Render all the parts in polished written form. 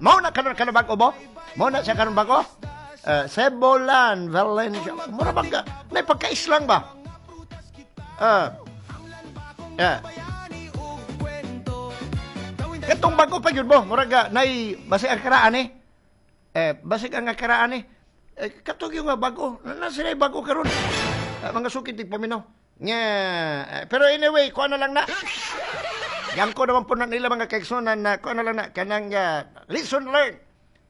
Mao na karon karon bag-o mo? Mao na siya karon bag-o? Cebolan, Valencia. Mura bang ka? May pagkaislang ba? Katong bago pa yun mo, murag nay basig ang karaan eh. Eh, basig ang karaan eh. Eh, katong yung bago, na sila bago karon. Mga sukit di paminaw. Nga, pero anyway, kuha na lang na. Yang ko naman po na nila mga kaiksunan na kuha na lang na kanang lesson learned.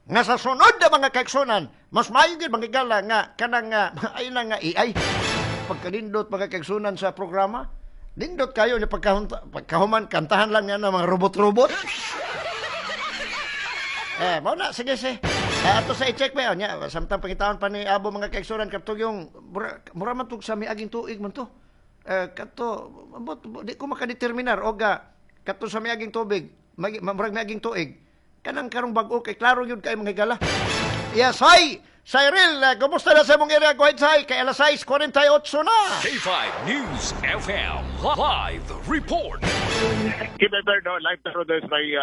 Nga sa sunod na mga kaiksunan, mas maayo gyud mga gala nga kanang ay na nga AI. Pagkanindot mga kaiksunan sa programa, nindot kayo ni pagkahuman kantahan lang nga na mga robot-robot. Eh, mao na sige sige. Eh, ato sa i-check ba nya samtang pangitaon pa ni Abo mga kaigsunan kadto yung mura, mura man tug sa miaging tuig man to. Eh, kadto ambot di ko makadeterminar og kadto sa miaging tubig, murag miaging tuig. Kanang karong bag-o kay klaro gyud kay mga higala. Yes, hi! Cyril, kumusta na sa imong area? Go ahead, Say. Kay alas 6:48 na. K5 News FM Live Report. Kibeber, no, live na ron sa may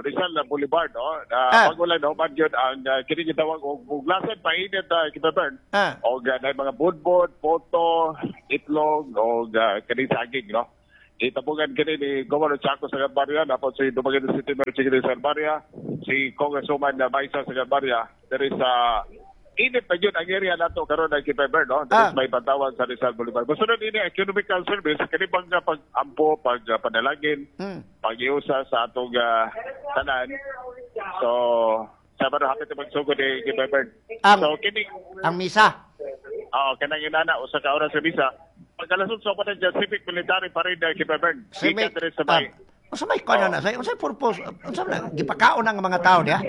Rizal Boulevard, no. Bago lang, no, man yun, ang kini gitawag og buglasan painit, Kibeber. Og na mga budbod, poto, itlog, og kini saging, no. Itabugan kini ni Governor Chaco sa Barya, napod si Dumaguete City Mayor Chiqui sa Barya, si Congresswoman Maisa sa Barya, there is init pa yun ang area nato karon ng Kibeber, no? There is may Pantawan sa Rizal Boulevard. Musunod ini economical service kini bang pag-ampo, pag panalangin, pag-iusa sa atong tanan. So, sa ba hapit na magsugod ni Kibeber. Ang So kini ang misa. Oh, kanang inana usa ka oras sa misa. Pagkalasod sa pa civic military parade na Kibeber. Civic Gikan diri sa may unsa may kuan na say? Unsa purpose? Unsa man gipakaon ang mga tao diha?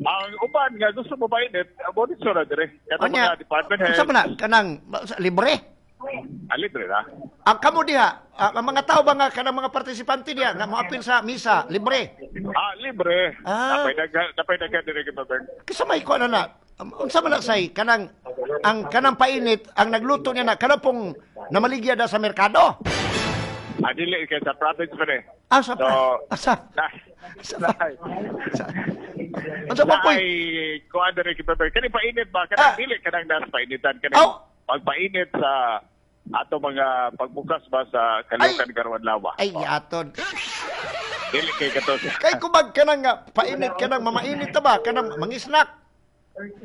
Ang uban nga gusto mo mainit, monitor na dire. Katong Unya, mga department heads. unsa man na kanang libre? Ah, libre na. Ang kamo diha, ang mga tao ba nga kanang mga partisipante diha nga moapil sa misa, libre? Ah, libre. Napay daga dire, Kibeber. Kasi may kuan na unsa man na say kanang ang kanang painit ang nagluto niya na kanang pong namaligya da sa merkado. Ah, dili kay sa province pa ni. Ah, sa So, ah, sa na, sa, na, sa unsa ba poy? Ay, kuan dire, Kibeber. Kani painit ba kanang dili kanang nas painitan kani Aw. pagpainit sa ato mga pagbukas ba sa Caloocan Garwan Lawa. Ay, aton. Dili kay kato. Kay kumag kanang nga, painit kanang mamainit ta ba kanang mangisnak.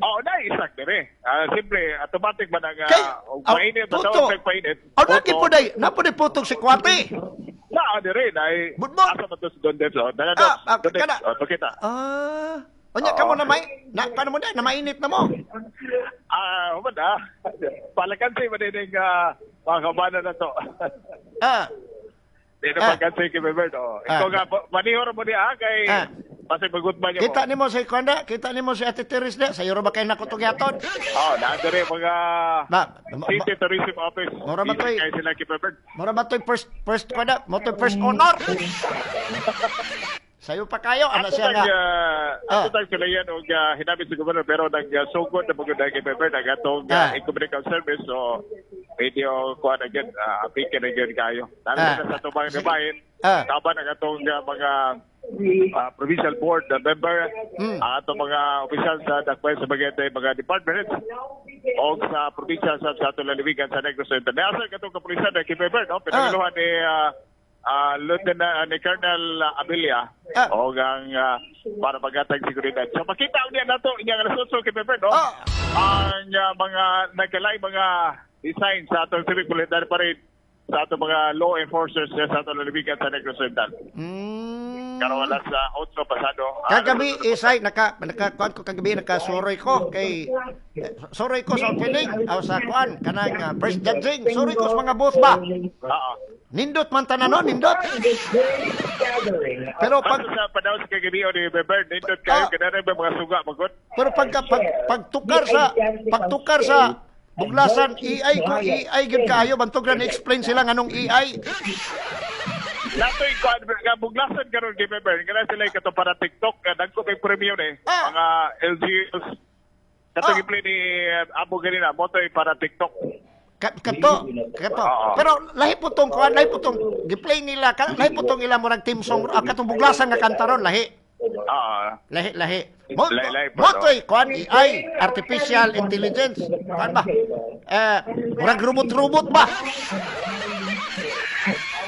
Oo, na isak dire. Ah, simple, automatic ba nang Kay og painit ba puto. tawag painit? Aw, lagi po day, napo day putong si Kwate. Na dire na Budbod. Asa ba to si Don Debs? Oh, dala Don Debs. Kana. Oh, pakita. Ah, unya kamo na may na paano mo na mainit na mo. Ah, human ah. Palakansi ba din ang mga kabana na to? Di na pagkansi kay Bebert. Oh. Ikaw nga, manihor mo niya kay pasig magutman niya mo. Kita nimo si Kwanda, kita nimo si Ate Teres na, sayo ra ba kay nako tugyaton? Oh, naadere mga Ba, City Tourism Office. Mura ba to'y- Kay sila kay Bebert. Mura ba to'y first first Kwanda, mo to'y first honor. Sayo pa kayo, ana Ato siya tag, nga. Ato tag sila yan og hinamit sa governor pero nagsugod na magud kay Bebert ang atong economical service, so medyo kuha na gyud, apike na gyud kayo. Lalo na sa atong mga bahin, taban ang atong mga provincial board member, ang atong mga opisyal sa Dakbayan sa Bagete, mga department heads, og sa probinsya sa atong lalawigan sa Negros Oriental. Naasa katong kapulisan na kay Bebert, no? Pinangaluhan ni Lieutenant ni Colonel Abilia og ang para magatag seguridad. So makita niya nato inyang alas 8 kay Bebert, no? Ang mga nagkalay mga design sa atong civic military parade sa atong mga law enforcers sa atong lalawigan sa Negros Oriental. Karon alas 8 pasado. Kagabi isay naka naka kuan ko kagabi nakasuroy ko kay suroy ko sa opening aw sa kuan kanang first judging suroy ko sa mga booth ba. Oo. Nindot man tanan no, nindot. Pero pag sa panahon sa kagabi ni Bebert, nindot kayo kanang mga suga magod. Pero pagka pag pagtukar sa buglasan AI ko AI gyud kaayo bantog ra ni-explain sila nganong AI. Natoy kuan nga buglasan karon kay Bebert, kana sila kato para TikTok dagko kay premium eh. Mga LGUs kato giplay ni Abo ganina motoy para TikTok. Kato, kato. Pero lahi po tong kuan, lahi po tong gi-play nila, lahi po tong ila murag team song, katong buglasan nga kanta ron, lahi. Lahi, lahi. Mo Lahi, lahi po, mo no? to'y kuan AI, artificial intelligence. Kuan ba? Eh, murag robot-robot ba?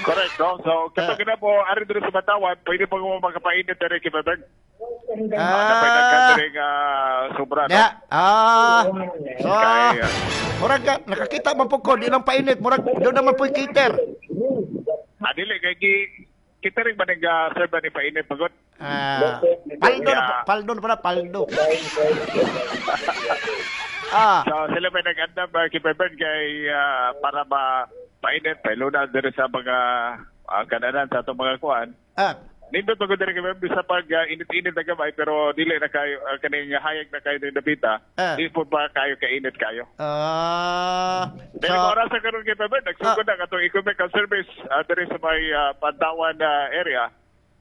Correct, no? So, kato na po, ari diri sa Batawan, pwede pa mo makapainit diri kay Bebeng. Napay nagkatering sobra, no? Ya. Ah. So, Kaya, murag nakakita man po ko, di lang painit, murag doon naman po cater. Ah, dili kay gi kita rin ba nag-serve ni painit pagod? Ah, paldo na, paldo na pala, paldo. Ah, So, sila may nag-andam kay Bebeng kay para ma painit, pailuna diri sa mga kananan sa atong mga kuan. Nindot pagod diri kay Bebeng sa pag init-init na gamay pero dili na kayo kaning hayag na kayo diri dapita. Di po ba kayo kainit kayo? Pero So, oras sa karon kay Bebeng, nagsugod na katong equipment service diri sa may Pantawan area.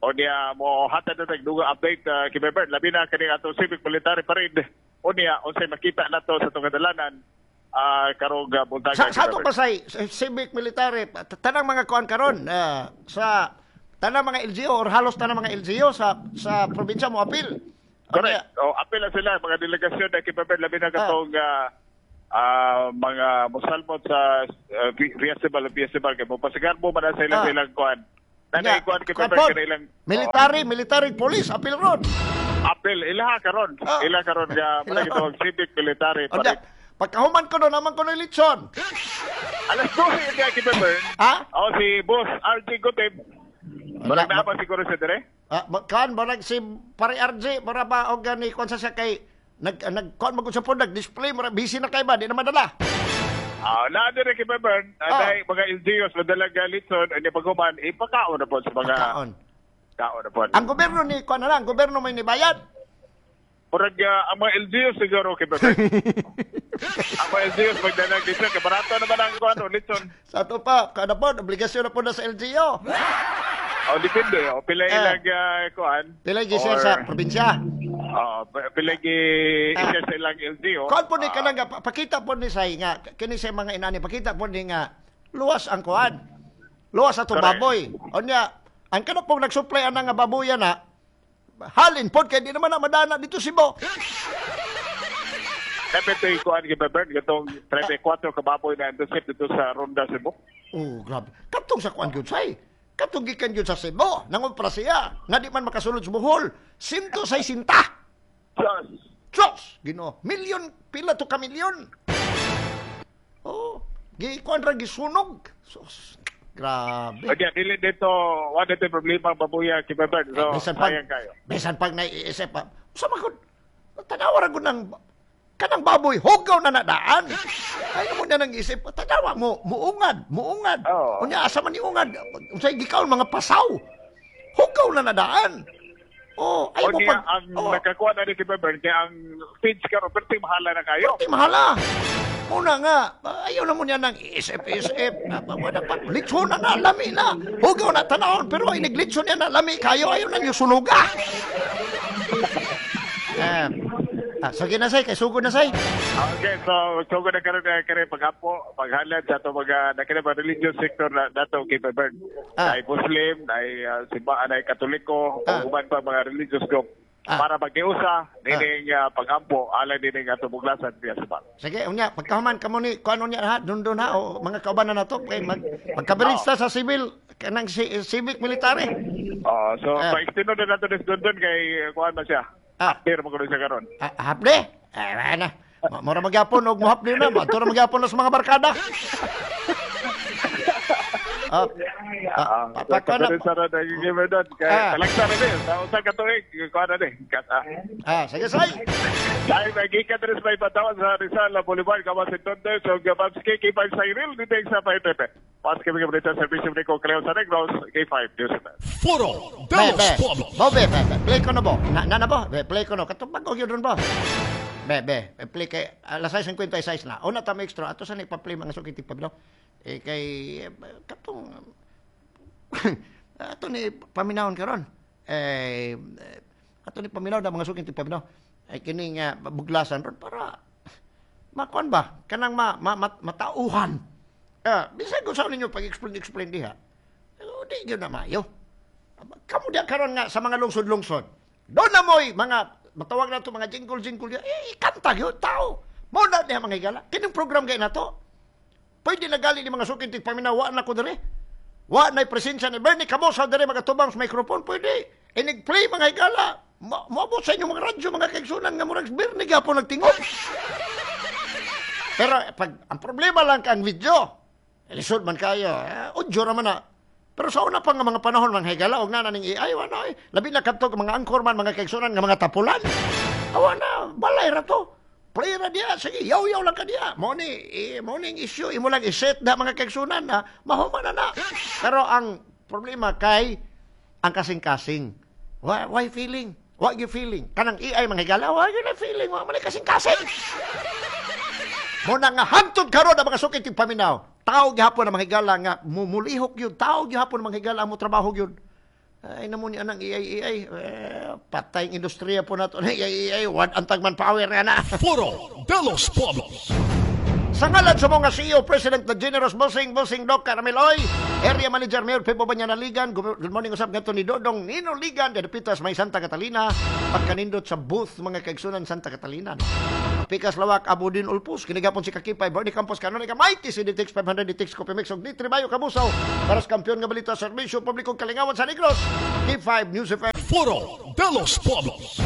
O niya mo hatad na tag duga update kay Bebeng. Labi na kaning atong civic military parade. O niya unsay makita nato sa atong kadalanan karong buntaga. Sa ato pa say, civic military, tanang mga kuan karon sa tanang mga LGU or halos tanang mga LGU sa probinsya mo apil. Correct. O apil na sila mga delegasyon na kay Bebeng, labi na katong mga musalmot sa festival festival kay mo pasigarbo man na sa ilang ilang kuan. Nanay kuan kay Kuan Bebeng pod, kanilang military police apil ron. Apil ilaha karon. Ila karon nga Ilaha. mga itong civic military O da, parade. pagkahuman ko no, naman ko no litson. Alas 12 niya kay Bebeng. Ha? O si Boss RJ Gutib. Wala, Murag naa ba siguro siya dire? Ah, kan barag si pare RJ para ba og gani kuan sa siya kay nag nag kuan magud sa pod nag-display mura busy na kay ba di na madala. Ah, naa dire kay Bebeng, dahil mga LGUs madala ga litson ani paghuman ipakaon na po sa mga Pakaon. Kaon na po. Ang gobyerno ni kuan na lang, gobyerno may nibayad. Murag ang mga LGUs siguro kay Bebeng. Ang mga LGUs magdala litson kay barato naman ang kuan litson. Sa ato pa, kada po, obligasyon na po na sa LGU. O depende, o pila ilang kuan. Pila gi-share sa probinsya. Oo, pila gi i-share sa ilang LGU. Kuan po ni kanang nga, pakita po ni say nga kini sa mga inani pakita po ni nga luwas ang kuan. Luwas ato baboy. Unya, ang kana pong nag-supply ana nga baboya na halin pod kay di naman na madana dito Cebu. Dapat ito yung kuan kay Bebeng, itong 34 ka baboy na intercept dito sa Ronda Cebu. Oh, grabe. Katong sa kuan gyud say. Katong gikan gyud sa Cebu, nangumpra siya nga di man makasulod sa Bohol. Sinto say sinta. Diyos! Diyos! Ginoo, milyon pila to ka milyon. Oh, gi kuan ra gisunog. Sus, grabe. O diyan, dili dito, wala dito yung problema ang babuya kay Bebeng. So, Bisan pag, sayang kayo. bisan pag naiisip pa, sa mga tanawa ra gud ng kanang baboy, hugaw na nadaan. Ay mo na nang isip, tanawa mo, muungad, muungad. Unya asa man ni ungad, unsay gikaon mga pasaw. Hugaw na nadaan. Oh, ay O mo niya, pag ang nakakuha na ni kay Bebeng, kaya ang feeds karon perti mahala na kayo. Perti mahala. Muna nga, ayaw na mo niya nang isip-isip. Wala pa, litson na na, lami na. Hugaw na tanawon, pero ay naglitson niya na, lami kayo, ayaw na niyo sunuga. Sige na say, kay sugod na say. Okay, so sugod na karon na kare paghapo, paghalad sa ato mga nakina ba religious sector na dato kay Bebeng. Ay Muslim, ay simbahan, ay Katoliko, ug uban pa mga religious group. Para magdiusa nining paghampo alang nining ato buglasan diya sa bang. Sige, unya, pagkahuman kamo ni kuano niya ha, dun ha o mga kauban na nato kay magkaberista sa civil kanang civic military. Oh, so pa-extend na nato ni dun kay kuan man siya. Pero magkuno siya karon. Hapde? Eh, na. Mura magyapon og mohapde na, madto ra magyapon na sa mga barkada. Pa na. Sa ra nagigime doon kay talagsa na din. Sa usa ka tuig kuan na din. Sige say. Dahil nagika diri sa may Batawan sa Rizal Boulevard kama si Tondo so Gababs K5 Cyril dito sa 5 Pas kami kabalita servisyo ni Cleo sa Negros K5 News FM. Foro Be, de los be. Pueblos. Bo, be, be, be. Play ko na bo. Na, na, na bo. Be, play ko no. Katong bago yun ron bo. Be, be. Play kay alas 6:56 na. Una ta extra. Ato sa ni pa-play mga sukit pablo. Eh kay katong ato ni paminawon karon. Eh ato ni paminaw na mga sukit pablo. Ay kini nga buglasan ron para makuan ba kanang ma, ma, matauhan. Bisan kung saan ninyo pag-explain-explain diha, di yun na mayo. Kamu diha karon nga sa mga lungsod-lungsod, doon na mo'y mga, matawag na ito mga jingle-jingle diha, eh, kanta yun, tao. Mo na diha mga higala. Kining program kay na to. Pwede na gali ni mga suking tigpaminaw, wa na ko diri. Wa na presensya ni Bernie Camosa diri mga tubang sa microphone, pwede. Inig-play mga higala. Moabot sa inyong mga radyo, mga kaigsunan nga murag Bernie gapon nagtingog. Pero pag ang problema lang ang video, lisod man kayo, audio ra man na. Pero sa una pa nga mga panahon mga higala og na ning AI wala eh. Labi na kadto mga anchor man mga kaigsunan nga mga tapulan. Awa na, balay ra to. Play ra diya, sige, yaw-yaw lang ka diya. Mo ni mo ning issue imo lang i-set da mga kaigsunan na mahuman na na. Pero ang problema kay ang kasing-kasing. Why feeling? Wa gyud feeling. Kanang AI mga higala, wa gyud feeling, wa man kasing-kasing. Mo na nga hantod karon ang mga sukit yung paminaw. Tao gihapon ang mga higala nga mumulihok yun. Tao gihapon ang mga higala mo trabaho yun. Ay namo ni anang AI AI. Eh, patay ang industriya po nato. AI AI. Wan ang tagman power nga na. Foro de los Pueblos. Sa ngalan sa mga CEO, President the Generous Bossing, Bossing Doc Carameloy, Area Manager Mayor Pepo Banya Ligan, good morning usab ngadto ni Dodong Nino Ligan, Pitas may Santa Catalina, pagkanindot sa booth mga kaigsunan Santa Catalina. No? Pikas Lawak, Abudin Ulpus, kinigapon si Kakipay, Bernie Campos, Kanonika, Mighty, CDTX, 500 DTX, Coffee Mix, og D3 Bayo, Kabusaw, para sa kampiyon nga balita, serbisyo publikong kalingawan sa Negros, K5 News FM. Foro de los Pueblos.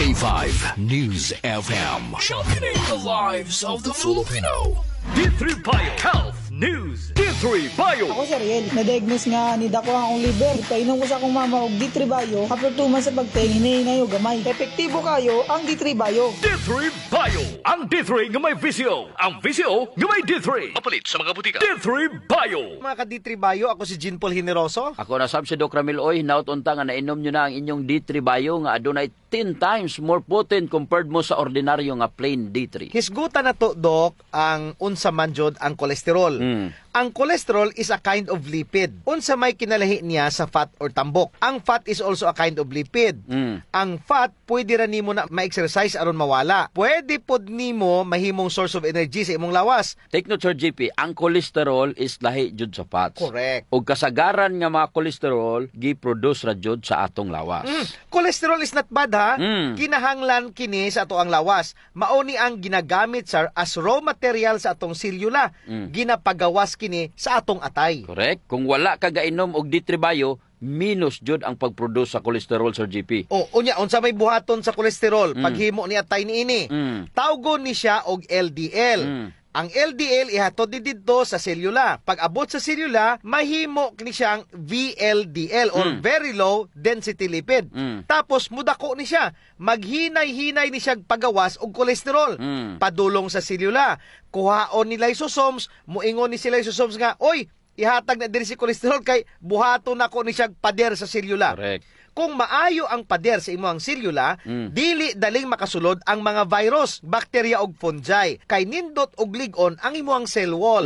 K5 News FM. Championing the lives of the Filipino. D3 Bio Health News. D3 Bio. Ako si Ariel, na-diagnose nga ni dako ang akong liver. Painom ko sa akong mama og D3 Bio, after 2 months sa pagteng, hinahinay og gamay. Epektibo kayo ang D3 Bio. D3 Bio. Ang D3 nga may VCO. Ang VCO nga may D3. Mapalit sa mga butika. D3 Bio. Mga ka-D3 Bio, ako si Jean Paul Generoso. Ako na sab si Doc Ramil Oy, hinaut unta nga nainom nyo na ang inyong D3 Bio nga adunay 10 times more potent compared mo sa ordinaryo nga plain D3. Hisgutan na to, Doc, ang unsa man jud ang kolesterol. Ang cholesterol is a kind of lipid. Unsa may kinalahi niya sa fat or tambok. Ang fat is also a kind of lipid. Ang fat pwede ra nimo na ma-exercise aron mawala. Pwede pod nimo mahimong source of energy sa imong lawas. Take note, Sir JP, ang cholesterol is lahi jud sa fats. Correct. Ug kasagaran nga mga cholesterol gi-produce ra jud sa atong lawas. Cholesterol is not bad ha. Kinahanglan kini sa ato ang lawas. Mao ni ang ginagamit sir as raw material sa atong selula. Ginapagawas kini sa atong atay. Correct. Kung wala ka gainom og D3 Bio, minus jud ang pag-produce sa cholesterol, Sir JP. O unya unsa may buhaton sa kolesterol paghimo ni atay niini? Tawgon ni siya og LDL. Ang LDL ihatod ni didto sa selula. Pag abot sa selula, mahimo ni siyang VLDL or very low density lipid. Tapos mudako ni siya. Maghinay-hinay ni siya pagawas og kolesterol. Padulong sa selula. Kuhaon ni lysosomes, muingon ni si lysosomes nga, "Oy, ihatag na diri si kolesterol kay buhaton nako ni siya pader sa selula." Correct. Kung maayo ang pader sa imong selula, dili daling makasulod ang mga virus, bakterya ug fungi. Kay nindot og lig-on ang imong cell wall.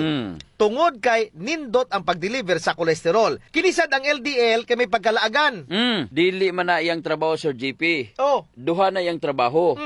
Tungod kay nindot ang pag-deliver sa kolesterol. Kinisad ang LDL kay may pagkalaagan. Dili man na iyang trabaho, Sir JP. Oh. Duha na iyang trabaho.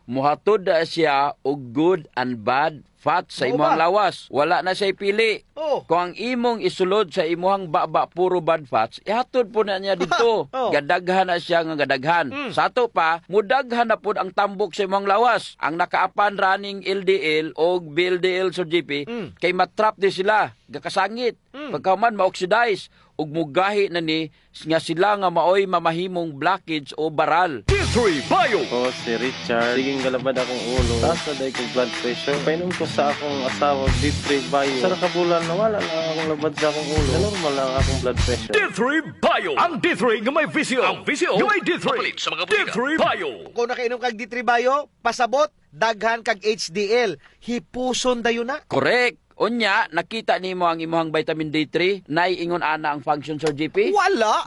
Muhatod na siya og good and bad fat sa Mao imong ba? lawas. Wala na siya ipili. Oh. Kung ang imong isulod sa imong baba puro bad fats, ihatod po na niya dito. Oh. Gadaghan na siya nga gadaghan. Sa ato pa, mudaghan na pod ang tambok sa imong lawas. Ang nakaapan running LDL o VLDL, Sir JP, kay matrap di sila, gakasangit. Pagkaman ma-oxidize ug mugahi na ni nga sila nga maoy mamahimong blockage o baral. D3 Bio. Ako si Richard. Siging galabad akong ulo. Taas na dahil kong blood pressure. Painom ko sa akong asawa, D3 Bio. Sa kabulan, nawala na akong labad sa akong ulo. Normal lang akong blood pressure. D3 Bio. Ang D3 nga may VCO. Ang VCO nga may D3. Mapalit sa mga butika. D3 Bio. Kung nakainom kag D3 Bio, pasabot, daghan kag HDL. Hipuson dayon na. Correct. Unya, nakita nimo ang imong vitamin D3, naiingon ana ang function, Sir JP? Wala.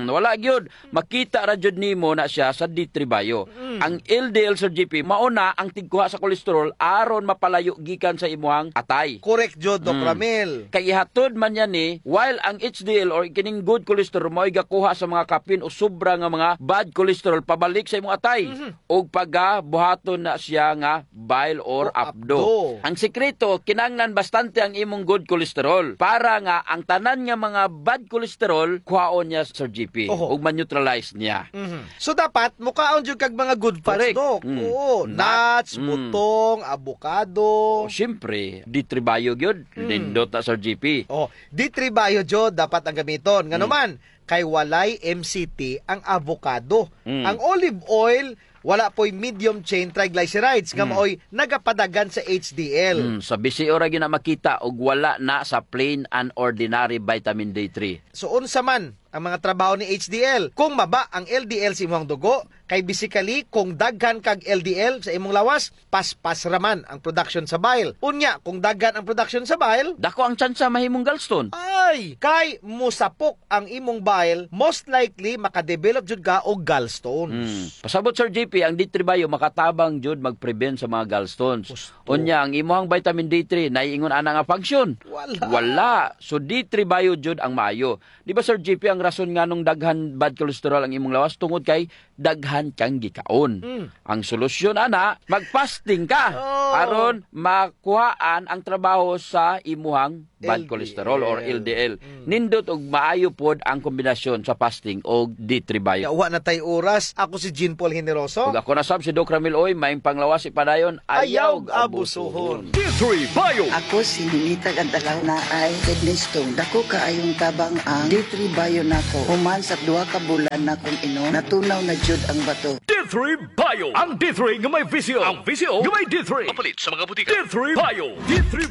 Wala gyud. Makita ra gyud nimo na siya sa D3 Bio. Ang LDL, Sir JP, mauna ang tigkuha sa kolesterol aron mapalayo gikan sa imong atay. Correct jud, Doc Ramil. Kay ihatod man yan ni, while ang HDL or kining good cholesterol mo'y gakuha sa mga kapin o sobra nga mga bad cholesterol pabalik sa imong atay. Og pagka buhaton na siya nga bile or O abdo. abdo. Ang sekreto kinanglan basta Importante ang imong good cholesterol para nga ang tanan nga mga bad cholesterol kuhaon niya, Sir GP, ug ma-neutralize niya. So dapat mukaon jud kag mga good fats, Dok. Oo, nuts, butong, avocado. Oh, siyempre, D3 Bio gyud. Nindot na, Sir GP. Oh, D3 Bio jud dapat ang gamiton. Ngano man kay walay MCT ang avocado. Ang olive oil wala po'y medium chain triglycerides nga maoy nagapadagan sa HDL. Sa BCO ra gyud na makita og wala na sa plain and ordinary vitamin D3. So unsa man ang mga trabaho ni HDL? Kung maba ang LDL sa imong dugo, kay basically kung daghan kag LDL sa imong lawas, paspas raman ang production sa bile. Unya, kung daghan ang production sa bile, dako ang tsansa mahimong gallstone. Ay, kay musapok ang imong bile, most likely makadevelop jud ka og gallstones. Pasabot, Sir JP, ang D3 Bio makatabang jud mag-prevent sa mga gallstones. Unya, ang imong vitamin D3 naiingon ana nga function? Wala. Wala. So D3 Bio jud ang maayo. Di ba, Sir JP, ang rason nga nung daghan bad cholesterol ang imong lawas tungod kay daghan kang gikaon? Ang solusyon ana, mag-fasting ka aron makuhaan ang trabaho sa imuhang bad LDL. Cholesterol or LDL. Nindot og maayo pod ang kombinasyon sa fasting og D3 Bio. Yawa na tay oras. Ako si Jean Paul Generoso. Ug ako na sab si Doc Ramil Oy, maayong panglawas ipadayon, Ayaw ayaw abusuhon. D3 Bio. Ako si Ninita Gantalaw na ay kidney stone. Dako kaayong tabang ang D3 Bio nako. Human sa 2 ka bulan na kong inom, natunaw na jud ang bato. D3 Bio. Ang D3 nga may VCO. Ang VCO nga may D3. Mapalit sa mga butika. D3 Bio. D3.